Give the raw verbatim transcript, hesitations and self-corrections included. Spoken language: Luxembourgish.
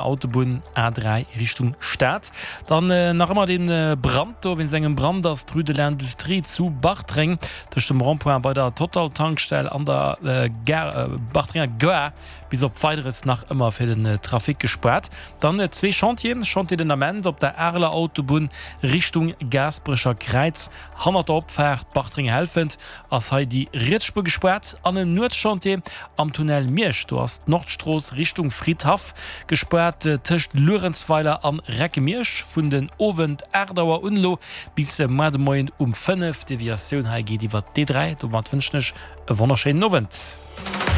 Autobunn A dräi Richtung Stad. Dann nach ëmmer dee Brand do. Wéinst engem Brand ass d'Rue de l'Industrie zu Bartreng tëscht dem Rond-point bei der Total-Tankstell an der Gare, Bartrenger Gare bis op Weideres nach ëmmer fir den Trafic gespaart. Dann zwee Chantieren, Chantier den Ament op der Areler Autobunn Richtung Gaasperecher Kräiz hannert der Opfaart Bartreng-Helfent ass hei déi riets Spuer gespaart an en Nuetschantier am Tunnel Miersch, do ass d'Nordstrooss Richtung Fridhaff gespaart tëscht Luerenzweiler an Recke-Miersch vun den Owend aacht Auer un elo bis muar de Moien um fënnef. D'Deviatioun hei geet iwwer d'D dräi. Domat wënschen ech e wonnerschéinen Owend.